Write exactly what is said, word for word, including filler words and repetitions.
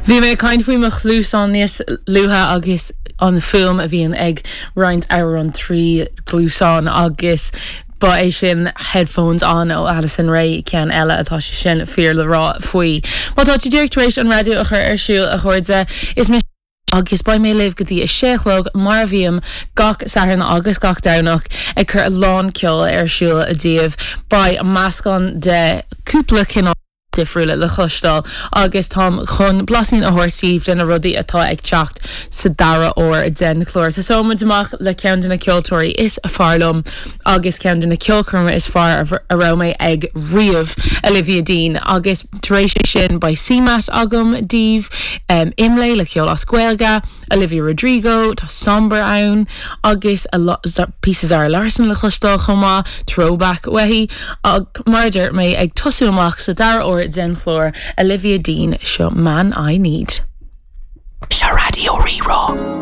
Bhí mé ag caint faoi mo chluasáin níos luaithe agus an fuaim a bhíonn ag roinnt amhrán trí chluasáin agus ba é sin headphones on ó Addison Rae ceann eile atá sé sin fíor le rá faoi. Má tá tú díreach tar éis an raidió a chur ar siúl a chairde is mise agus beidh mé libh go dtí a sé a chlog mar a bhím gach Satharn agus gach Domhnach ag cur a lán ceol ar siúl daoibh beidh meascán de cúpla cineál difriúla le cloisteáil agus táim chun blaisín a thabhairt daoibh de na rudaí atá ag teacht sa dara huair den chlár. Tosóimid amach le ceann de na ceoltóirí is fearr liom agus ceann de na ceolchoirmeacha is fearr a raibh mé ag riamh Olivia Dean agus tar éis sin beidh CMAT agam daoibh um, Imlé le ceol as Gaeilge, Olivia Rodrigo, tá Sombr ann agus píosa Zara Larsson le cloisteáil chomh maith, throwback uaithi ach mar a dúirt mé ag tosú amach sa dara huair den chlár Olivia Dean seo Man I Need. Seo Raidió Rí-Rá.